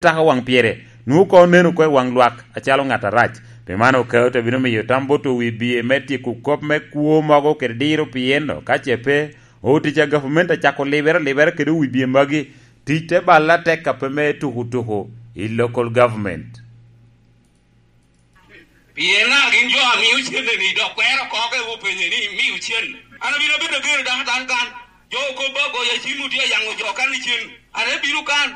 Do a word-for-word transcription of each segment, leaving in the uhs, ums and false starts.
Tako waŋ pire, nwoŋo koŋ onen oko i waŋ lwak acalo ŋat arac. Pi man, Okao te bino miyo tam bot owi bie me tyeko kop me kwo mogo kede diro pi en, ka ce pe, otic a gavumenti acako libere alibera kede owi bie magi, tic te balle atek a pe me tuko tuko i local government. Pien daŋ gin jo a mio cen-ni, dok kwero oko ka openye ni, "Imio cen?" An abino abedo ager dok atan kan. Jo okobo agoya cim otye ayaŋo jo kan i cen. An abino kan.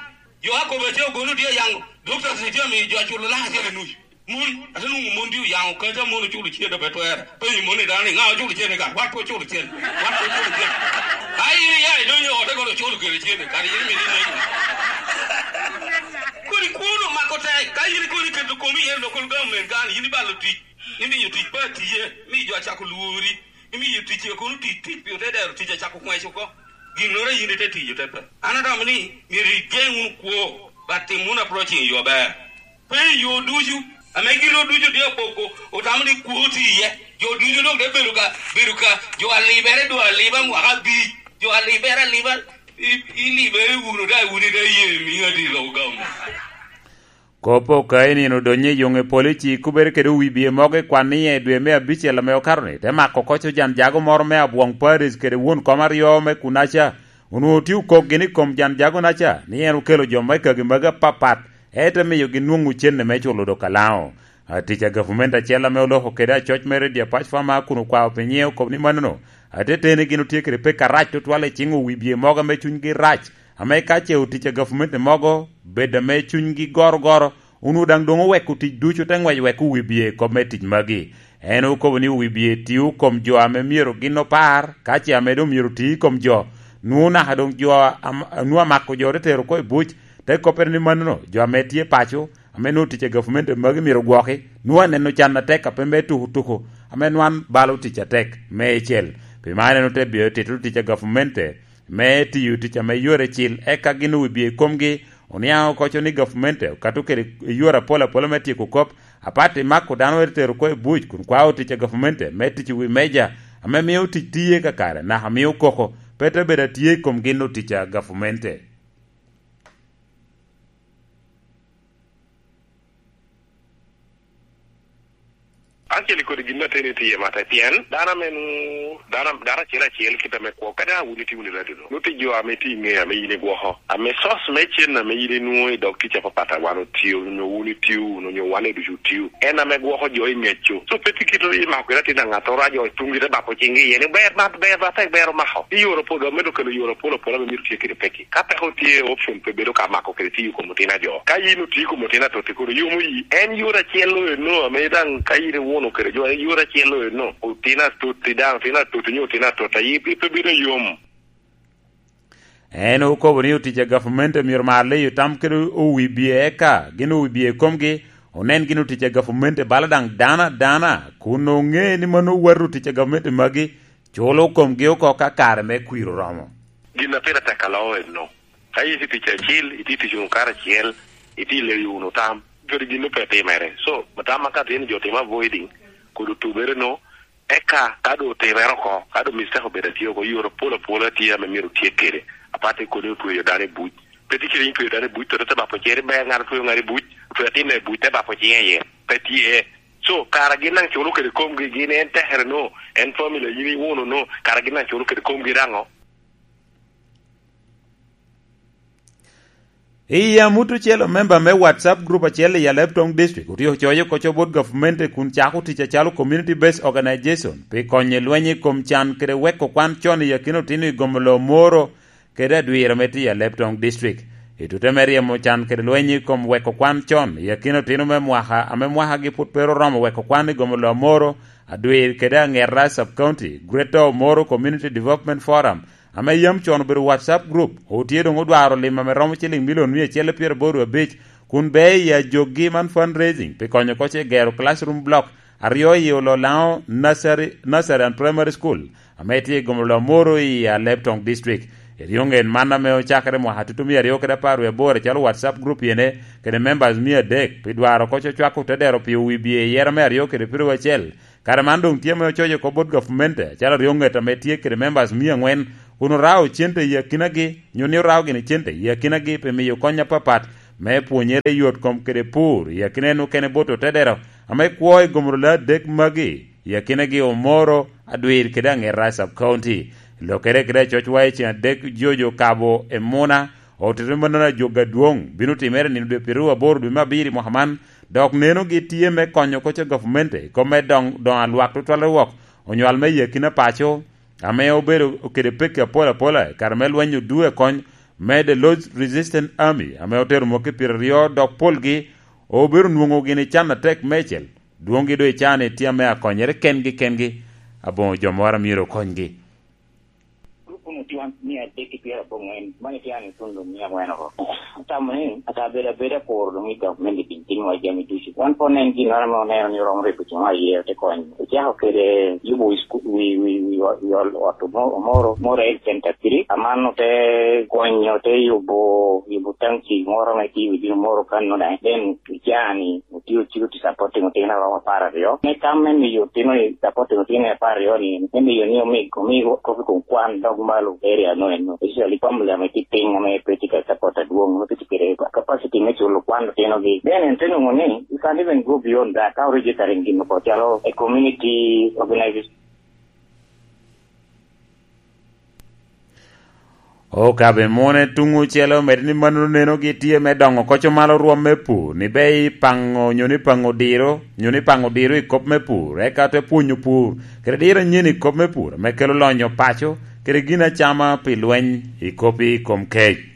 Jo akobo ace ogono tye ayaŋo. Dokta tye amiyo jo aculo lak acel i nuc. Mon, ate nwoŋo mon tye oyaŋo kaca, mon oculo cen, pe twere. Penyo mon i dano ni, "Ŋa oculo cen i kan?" Wat pe oculo cen. Wat pe oculo cen. Ka in iya idonyo i ote kono oculo kede cen, kadi in imito inegi. Kodi kwon omako tek, ka in kodi iketo komi iye local government kan, in ibalo tic, imiyo tic pe atiye, imiyo jo acako lwori, imiyo tic kono tic, tic pi ote dero tic acako kwec oko. Ginnoro in ite tiyo te pe. An atamo ni myero igeŋ wunu kwo, but tim wunu approaching yo aber. Pe i yo ducu, ame gin ducu tye apoko, otamo ni kwo tye iye. Jo ducu dok te bedo ka, bedo ka, jo alibere, jo aliba mwaka abic, jo alibere aliba, i-, ilibere wunu, daŋ wun ite ye miŋ adilo gamo. Kop Okao i nino odonyo i yoŋe polo i ci kubere kede owi bie mogo i kwan ni i dwe me abicel ame okato-ni, te mako koc ojan jago moro me Abwoŋ Paris kede won kom aryo me kunaca. Onwoŋo tye okok gin i kom jan jago-naca ni en okelo jo me kagi magi apapat, ete miyogi nwoŋo cene me culo dok alaŋo. Atic a gavumenti acel ame oloko kede acoc me redio Apac Fama kun okwao pi nyiŋe okobo ni mannono, ateteni gin otye kede pek arac tutwal i ciŋ owi bie mogo ame cunygi rac, ame ka ce otic a gavumenti mogo bed ame cunygi gorogoro, onwoŋo daŋ doŋ oweko tic ducu te ŋwec wek owi bie i kop me tic magi. En okobo ni owi bie tio kom jo ame myero gin opar, ka ce ame doŋ myero oti i kom jo, nwoŋo naka doŋ jo am-, nwoŋo amako jo te tero oko i buc, te koppere ni mannono, jo ame tye paco, ame nwoŋo tic a gavumenti magi myero ogwoki, nwoŋo aneno can atek a pe me tuko tuko, ame nwan balo tic atek, me icel. Pi man en ote bino tito tic a gavumenti, me tiyo tic ame yore cil, eka gin owi bie i komgi, oniaŋ okoco ni gavumenti okato kede yore apol apola me tyeko kop, apat i mako dano ete tero oko i buc, kun kwao tic a gavumenti me tic i wi meja, ame mio tic tiye kakare, naka mio koko pe te bedo atye i kom gin otic a gavumenti. Acel i kodi gin ateni tye mata, pien dano ame nwoŋo, dano, dano acel acel kit ame kwo, kadi a wun itye wunu i radio-nu, nwoŋo tye jo ame tye i ŋe ame yin igwoko, ame source me cen ame yin inwoŋo i dog tic apapat a wan otio, onyo wun itio wunu, onyo wan ducu otio, en ame gwoko jo i ŋeccu. So, pe tye kite i mako kede atin a ŋattoro, a jo i tuŋgi te bako ciŋgi iye ni, "Ber, ber, ber, ber, ber omako." I yore apol, gamente okelo yore apol apol ame myero tye kede pekki. Ka peko tye, option pe bedo ka mako kede tiyo kom otino ajo. Ka yin otio kom otino atotti, kono yomo yi. En yore acel-lo eno, ame daŋ ka yin iwuno kede jo, en yore acel-lo eno. Otino atotti daŋ, otino atotti nyo otino atotta, yi pe bedo yom. En okobo ni otic a gavumenti myero mar leyo tam kede owi bie, eka gin owi bie i komgi, onen gin otic a gavumenti bala daŋ dano adana, kun oŋe ni mano wato otic a gavumenti magi, culo komgi oko ka kare me kwir oromo. Gin a pire tek aloo eno. Ka itye tic acil, itye tic wunu karacel, itye leyo wunu tam, kodi gin pe timere. So, tam ma ka tye ni jo timo avoiding, kodi otubere no, eka ka doŋ otimere oko, ka doŋ mistake obedo atye oko, yore apol apol atye ame myero otyek kede. Apat i kodi otweyo dano i buc. Pe tye kede in tweyo dano i buc, to te bako cere ber, ŋat otweyo ŋat i buc, otweyo atin i buc, te bako cinge iye. Pe tye. So, kara gin daŋ culo kede komgi, gin en tekere no, en family yin iwuno no, kara gin daŋ culo kede komgi daŋo? I amut ocel, memba me WhatsApp group acel i Alebtong District otye ocoyo koco bot gavumenti kun cako tic acalo Community Based Organization pi konyo i lweny i kom can kede weko kwan con i akina otino i gomo loo moro kede adwira me tiyo i Alebtong District. I tute me ryemo can kede lweny i kom weko kwan con i akina otino me mwaka ame mwakagi pwod pe oromo weko kwan i gomo loo moro, adwir kede aŋeta sub-county, Greater Omoro Community Development Forum, ame yam con obedo WhatsApp group, otye doŋ odwaro lim ame romo ciliŋ milion mia acel pyeraboro abic, kun bea i ajokgi man fundraising pi konyo koc i gero classroom block aryo i Ololaŋo Nursery, Nursery and Primary School, ame tye i gomo loo moro i Alebtong District. Eryoŋet man ame ocakere mwaka tutumia aryo kede apar wie aboro acalo WhatsApp group yene kede members mia adek pi dwaro koc ocwako te dero pi owi bie i yera me aryo kede pyeraryo acel. Kare man doŋ tye ame ococo oko bot gavumenti, acalo aryoŋet ame tye kede members mia aŋwen, kun orao cente i akinagi, nyo ni orao gini cente i akinagi pi miyo kony apapat, me pwonyere i yot kom kede pur i akina en okene bot otedero ame kwo i gomoro le adek magi, i akinagi Omoro, Adwir kede Aŋeta i Sub County. Lokere kede acoc wa i ceŋ adek jojo kabo i Muna, otito mannono ajog adwoŋ bino timere nino dwe pyeraryo aboro dwe me abiro i mwaka man, dok nenogi tye me konyo koc a gavumenti i kop me doŋ, doŋ a lwak tutwalle wok, onywal me i akina paco, ame obedo kede pekki apol apola i kare me lweny odue kony me The Lord's Resistance Army, ame otero mwaki pyeraryo, dok polgi obedo nwoŋo gin i can atek meicel, dwoŋgi doŋ i can i tye ame akonyere kengi kengi, aboŋo jo moro a myero okonygi. Grup unu tye wan mia adek ki pyerabongwen, mano tye an itundo mia angwen oko. Atamo ni ata bedo abeda poro doŋ i gavumenti bin timwa jami ducu. Wan pwod nen ginnoro ame oneno ni oromo rego cuŋwa iye, ote konyo. Ocako kede yubo wi sku-, wi, wi, wi ot, wi ot, ot Omo-, Omoro, Omoro Health Center three. Aman ote konyo, ote yubo, yubo tanki moro ame tye i wi dino Omoro kanno daŋ. Then icaa ni otye ociko tye supporting otino aromo apar aryo. Me tam me miyo otino i supporting otino apar aryo ni, me miyo ni omig, omig kop i kom kwan dog malo area no eno. Especially family ame tye piny ame pe tye ka support adwoŋ, ame pe tye kede capacity me culo kwan otinogi. Then en te nwoŋo ni, you can even go beyond that, ka oregister in gin oko calo a community organization. Okabe mune tuŋ ocele omedde ni mannono nenogi tye me doŋo koco malo rwom me pur, ni be i paŋo nyo ni paŋo diro, nyo ni paŋo diro i kop me pur, eka te pwonyo pur, kede diro anyen i kop me pur, me kelo lonyo paco, kede gin acama pi lweny i kop i kom kec.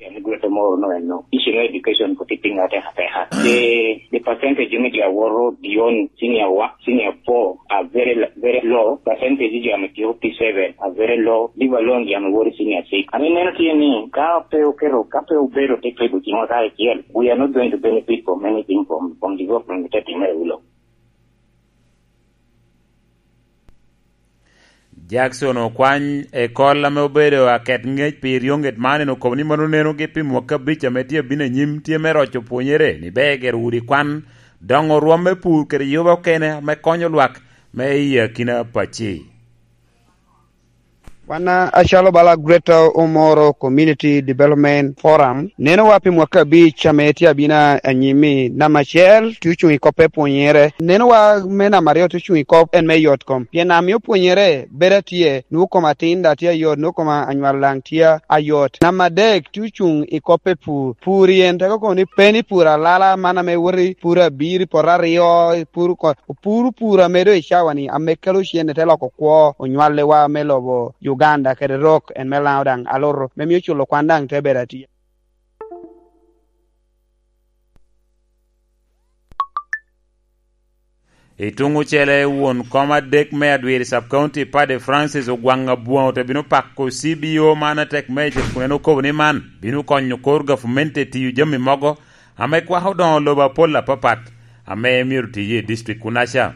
En gwete moro no eno. Issue me education ko tye piny atek ateka. The, the percentage me jo awoto beyond senior one, senior four are very, very low. Percentage jo ame tye P seven are very low. Leave alone jo ame woto senior six. Ame meno tye ni ka pe oketo, ka pe obedo te kego cingwa kare acel, we are not going to benefit from anything from, from development me te timere wilo. Jackson Okwany, ekol ame obedo aket ŋec pi eryoŋet man, en okobo ni mano nenogi pi mwaka abic ame tye abino anyim tye me roco pwonyere ni ber gero udi kwan, doŋo rwom me pur kede yuba okene ame konyo lwak me i akina pacci. Wan, a, acalo bala Greater Omoro Community Development Forum, nenowa pi mwaka abic ame tye abino anyim-mi, namba acel tye ocuŋ i kop me pwonyere. Nenowa me namba aryo tye ocuŋ i kop en me yot kom. Pien amiyo pwonyere bedo atye, nwoŋo kom atin daŋ tye ayot, nwoŋo kom anywal daŋ tye ayot. Namba adek tye ocuŋ i kop me pur. Pur i en teko kono ni pe ni pur alala man ame wot i pur abiro, i poto aryo, i pur ko-, opuro pur ame doŋ i cawa-ni, ame kelo cen, te loko kwo onywallewa me lobo Uganda kede rok en me Laŋo daŋ aloto, me mio culo kwan daŋ te bedo atye. I tuŋ ocele, won kom adek me Adwiri Sub County, Paddy Francis Ogwaŋ Abwoŋo, te bino pako C B O man atek meicel kun en okobo ni man bino konyo kor gavumenti i tiyo jami mogo ame kwako doŋo lobo apol apapat ame myero tiye i district kunaca.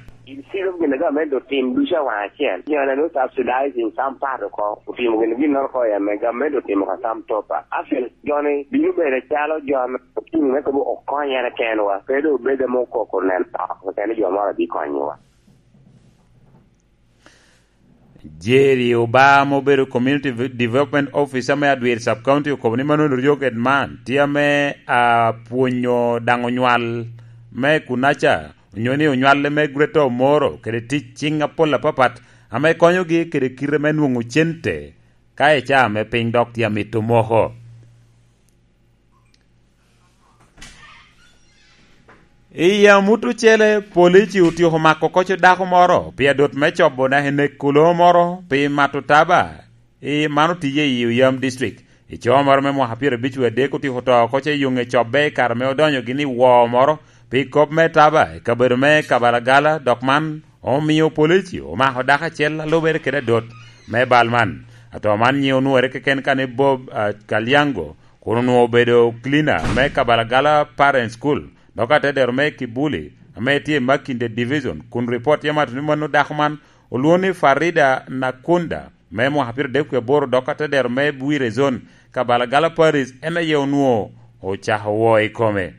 Ciro gin a gamente otim ducu awaŋ acel. Joni ame subsidizing some part oko, otimo gin ginnoro oko ame gamente otimo ka some top up. Actually, joni bino bedo calo jo ame otuŋ me kobo okonyere kenwa. Pe doŋ obed ame okoko neno oko keken ni jo moro abikonyowa. Jerry Oba, ma obedo Community Development Officer me Adwiri Sub County, okobo ni mano ryoket man tye ame apwonyo daŋ onywal me kunaca, onyo ni onywalle me Greater Omoro, kede tic ciŋ apol apapat ame konyogi kede kite me nwoŋo cente ka i caa me piny dok tye amito moko. I amut ocele, polici otyeko mako koco dako moro pi adot me cobo naka i nek kulo moro pi mato taba. I man otiye i Oyam District. I coo moro me mwaka pyerabic wie adek otyeko to koco i yoŋe cobbe i kare me odonyo gini i woo moro pi kop me taba i kabedo me Kabalagala, dok man omio polici omako dako acel a lubere kede adot me bal man. Ato man nyiŋe onwoŋere keken ka ni Bob, ah, Kalyango, kun onwoŋo obedo cleaner me Kabalagala Parent School, dok atedero me Kibuli, ame tye i Makinde Division, kun ripot tye mato ni mano dako man olwoŋo ni Farida Nakunda, me mwaka pyera adek wie aboro, dok atedero me Bwire Zone, Kabalagala Parish, en aye onwoŋo ocako woo i kome.